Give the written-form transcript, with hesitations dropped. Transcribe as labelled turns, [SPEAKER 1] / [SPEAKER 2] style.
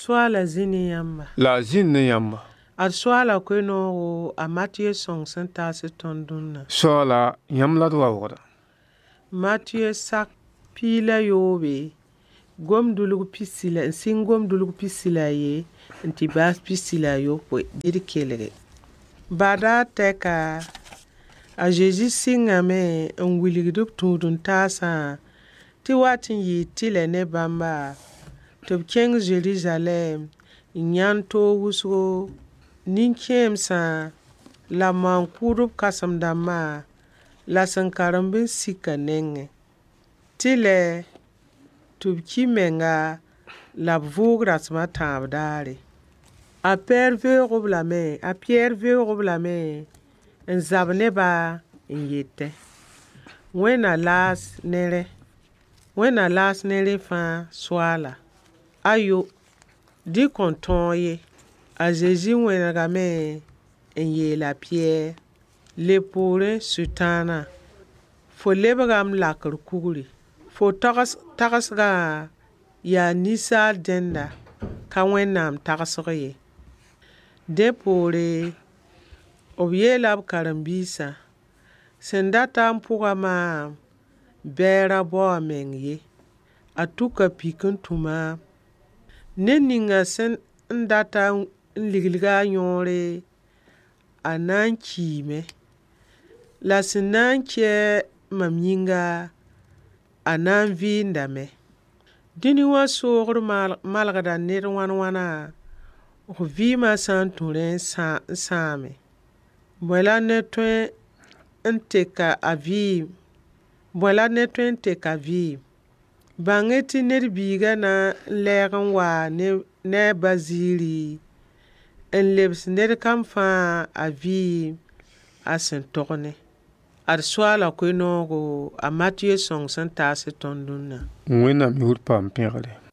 [SPEAKER 1] Soaala zĩ ne yãmba.
[SPEAKER 2] La a zĩnd ne yãmba.
[SPEAKER 1] Ad Soaala koe-noogo a Matɩyɛ sõng sẽn taas tõnd dũnna.
[SPEAKER 2] Soaala, yãmb la d waoogda.
[SPEAKER 1] Matɩyɛ sak 17, gom-dʋlg pisi la n sɩng gom-dʋlg 41 n tɩ baas 41, dɩ d kelge. Badaar tɛka, a Zezi sɩngame n wilgd b tũud-n-taasã tɩ wat n yɩɩ tɩlɛ ne bãmba tɩ b kẽng Zerizalɛɛm n yãnd toog wʋsgo, nin-kẽemsã la maan-kʋʋdb kãsem-dãmbã la sẽn karemb n sik a nengẽ. Tɩlɛ tɩ b ki menga la b vʋʋg rasem a tãab daare. A Pɛɛr veoog-b lame, a Pɩyɛɛr veoog-b lame n zab ne-ba n yetẽ: Wẽnna laas ne rẽ. Wẽnna laas ne rẽ fãa Soaala. Ayo, dɩ kõn tõog ye. A Zezi wẽnegame n yeel a Pɩyɛɛr: Leb poorẽ Sʋtãana, fo lebga m lakr kugri. Fo tagsgã yaa ninsaal dẽnda, ka Wẽnnaam tagsg ye. Dẽ poore, b yeela b karen-biisã: Sẽn data n pʋga maam, bɩ a ra bao a meng ye. A tuka pik n tũ maam. Ned ninga sẽn data n liglg a yõore, a na n kiime. La sẽn na n kɛ mam yĩnga, a na n vɩɩndame. Dũni wã soogr malgda ned wãn-wãna, f vɩɩmã sã n tũ rẽ n sãame. Bõe la ned tõe n teka a vɩɩm? Bõe la ned tõe n tek a vɩɩm? Bãng-y tɩ Ned Biigã na n lɛɛg n waa ne a Ba ziiri n lebs ned kam fãa a vɩɩm a sẽn tog ne. Ad Soaala koe-noogo a Matɩyɛ sõng sẽn taas tõnd dũnna.
[SPEAKER 2] Wẽnnaam yʋʋr paam pẽgre.